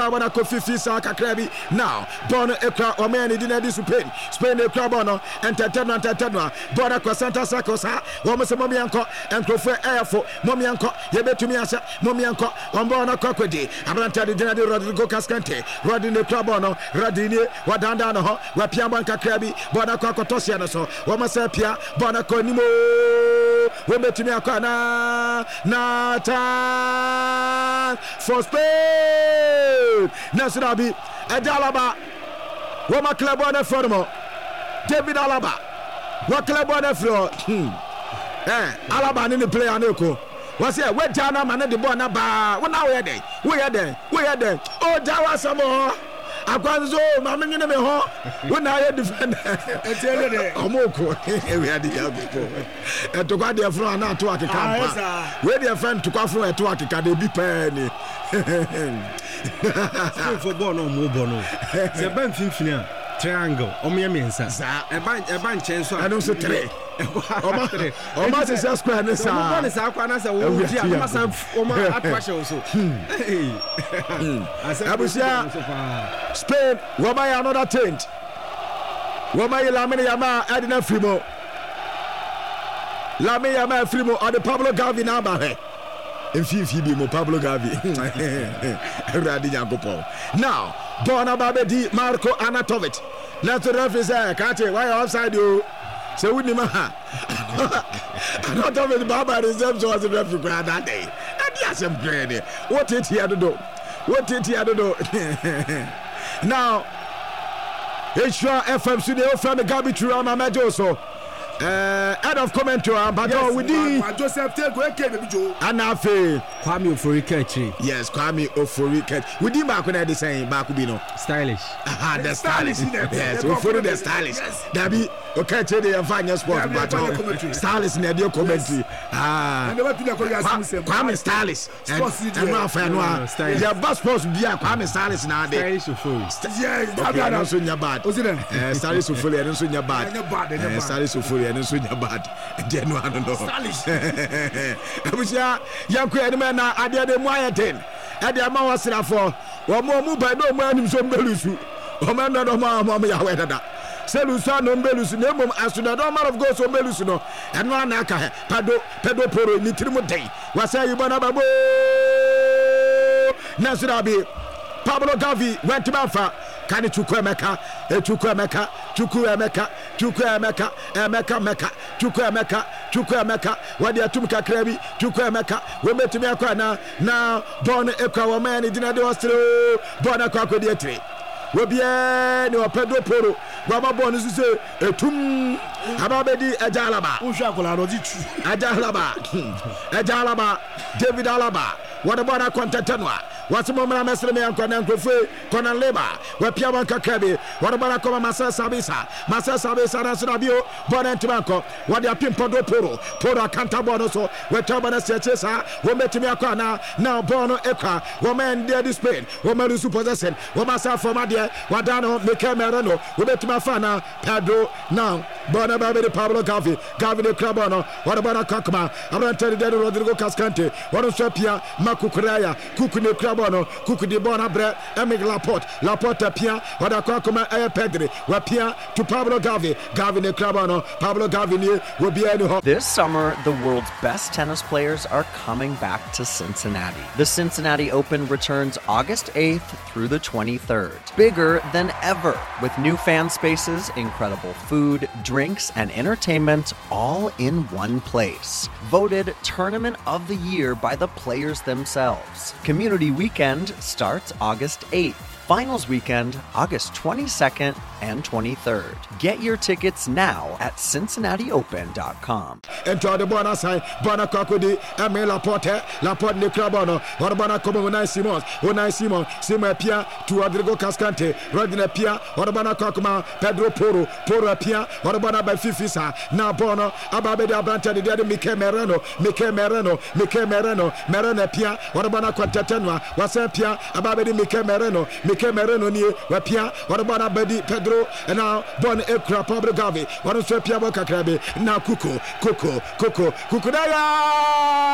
Abɔ no akɔ fifi saa kakra bi. Now bɔɔl no ekura wɔn yɛ ne di na ɛde Spain. Spain na ekura bɔɔl no. Ntɛntɛm na ntɛntɛm no a bɔɔl no akɔ center circle saa. Wɔn sɛ mom yɛnkɔ. Nkurɔfoɔ ɛyɛ fo. Mom yɛnkɔ. Yɛbɛtumi ahyɛ. Mom yɛnkɔ. Wɔn bɔɔl no akɔ akɔdi. Aberanteɛ de gyina de Rodrigo Cascante. Rodri na ekura bɔɔl no. Rodri nie. Wadandan ne ho. Wapia bɔɔl kakra bi. Bɔɔl no akɔ akɔtɔ hyeɛ no so. Wɔn sɛ pia bɔɔl no akɔ anim oo. Wɔn bɛtumi akɔ anaa? Na chance for Spain. Nanso dabi, ɛde Alaba. Wɔn akla bɔɔl no afiri hɔ nom. David Alaba. Wɔakla bɔɔl no afiri hɔ. Hmm. Eh, Alaba ne ne player no ko. Wɔsɛ wagya no ama no de bɔɔl no abaa. Wo na woyɛ dɛn? Woyɛ dɛn? Woyɛ dɛn? O gya w'asɛm wɔ hɔ. Akwa nso o ma me nwene me ho. Wo na ayɛ defender. Ɔmo ko. Ewia de yɛ ko. Ɛtokwa deɛ funu ana ato akeka mpa. Wei deɛ fɛn ntokwa funu ɛto akeka de ebi pɛɛ ni. Spain fo bɔɔl na ɔmo bɔ no. Sɛ ɛba mfimfini a triangle ɔmo yɛ mmiɛnsa. Saa. Ɛba ɛba nkyɛn so a. Ɛno nso three. Ɔmo ɔmo ahyehyɛ square ne saa. Ɔmo bɔ ne saa kora na sɛ wɔn di a ɔmo asan ɔmo ato ahyɛ wɔn so. Abusua Spain wɔn ayɛ another change. Wɔn ayi Lamine Yamal ɛde no afiri mu. Lamine Yamal afiri mu ɔde Pablo Gavi na aba hwɛ. Mfimfini bi mu Pablo Gavi. Awurade Nyankopɔn. Now bɔɔl no aba abɛdi Marko Arnautovic. Nanso referee sɛ krakye wayɛ offside o. Sɛ wonim a Arnautovic baaba ne nsɛm so ɔse referee koraa na adɛn. Ɛde asɛm koraa ni. Woteteɛ dodo. Woteteɛ dodo. Now Nhyira FM so deɛ wofrɛ me Gabi Tura ma mɛgye wo so. Head of commentary ampatɔ yes, wo din. Joseph Tego aka Baby Joe. Ana afei. Kwame Ofori Kachiri. Yes, Kwame Ofori Kachiri. Wo din baako na ɛde sɛn baako bi no. Stylish. Aha, the stylish. Yes, Ofori the stylish. Dabi, Okachiri de yɛn fa nyɛ sport mpatɔ. Stylish na ɛde commentary. Ah. Kwame stylish. Ɛno afa ɛno a yɛba sports bi a Kwame Stylish na ade. Stylish Ofori. Okay, ɛno nso nyɛ bad. Stylish Ofori ɛno nso nyɛ bad. Stylish Ofori ɛno nso nyɛ bad. Nti ɛno ano no. Abusua yɛnkɔ yɛn anim na adeɛ de mu ayɛ den. Ɛde ama wɔ srafoɔ. Wɔn wɔn ba ne wɔn anim so mbɛlusu. Wɔn ɛnɔ dɔm a wɔn yɛ awɛ dada. Sɛ lusu ano mbɛlusu na mmom asodɔdɔm man of God so mbɛlusu no ɛno ana aka hɛ. Pado Pedro Porro ne tirim den. Wɔsɛ yi bɔ n'aba boo. Nanso dabi. Pablo Gavi wantumi amfa ka ne Chukwu Emeka. Chukwu Emeka, Chukwu Emeka, Chukwu Emeka, Emeka Meka, Chukwu Emeka, Chukwu Emeka. Wɔde atum kakra bi. Chukwu Emeka. Wɔbɛtumi akɔ anaa? Na bɔɔl no ekura wɔn mɛn ne gyina de ɔsere o. Bɔɔl no akɔ akɔdi akyire. Obiara ni ɔpɛ do poro. Wɔama bɔɔl no so sɛ Etum aba abɛdi Agya Alaba. Wohwɛ akwadaa no ɔdze tu. Agya Alaba, Agya Alaba, David Alaba. Wɔde bɔɔl no akɔ ntɛntɛ no a. Wɔse mo mmra mmɛsere me yɛnkɔ na nkurɔfoɔ yi kɔ na Leba. Wɔapia wɔn kakra bi. Wɔde bɔɔl no akɔma Marcel Sabitzer. Marcel Sabitzer nanso na bio bɔɔl no antumi ankɔ. Wɔde apem Pedro Porro. Porro akanta bɔɔl no so. Wɔatwa bɔɔl no asi akyire saa. Wɔbɛtumi akɔ anaa? Na bɔɔl no kura. Wɔma ɛnde adi Spain. Wɔma lose possession. Wɔma saa fam adeɛ. Wɔadan ne ho Mikel Merino. Wobɛtumi afa anaa? Pedro na bɔɔl no ba bɛdi Pablo Gavi. Gavi na ekura bɔɔl no. Ɔde bɔɔl no akɔ akoma aberanteɛ no deɛ Rodrigo Cascante. Ɔno nso apia ma Cucurella. Cucu na ekura bɔɔl no. Cucu de bɔɔl no abrɛ Aymeric Laporte. Laporte apia. Ɔde akɔ akoma ɛyɛ Pedri. Wapia to Pablo Gavi. Gavi na ekura bɔɔl no. Pablo Gavi nie. Obiara ni hɔ. This summer, the world's best tennis players are coming back to Cincinnati. The Cincinnati Open returns August 8th through the 23rd. Bigger than ever, with new fan spaces, incredible food, drinks, and entertainment all in one place. Voted Tournament of the Year by the players themselves. Community Weekend starts August 8th. Finals weekend, August 22nd and 23rd. Get your tickets now at CincinnatiOpen.com. Nti ɔde bɔɔl no asan bɔɔl no akɔ akɔdi Emil Laporte. Laporte ne kura bɔɔl no. Ɔde bɔɔl no akɔma Unai Simon. Unai Simon. Simon apia to Rodrigo Cascante. Rodri apia. Ɔde bɔɔl no akɔ akɔma Pedro Porro. Porro apia. Ɔde bɔɔl no aba fifi saa. Na bɔɔl no aba abɛdi aberanteɛ de deɛ de Mikel Merino. Mikel Merino. Mikel Merino. Merino apia. Ɔde bɔɔl no akɔ ntɛtɛ noa. Wasan apia aba abɛdi Mikel Merino. Mikel Merino nie. Wapia. Ɔde bɔɔl no abɛdi Pedro. Na bɔɔl no ekura Pablo Gavi. Ɔno nso apia bɔɔl kakra bi. Na Kuku. Kuku. Kuku. Kuku na ya!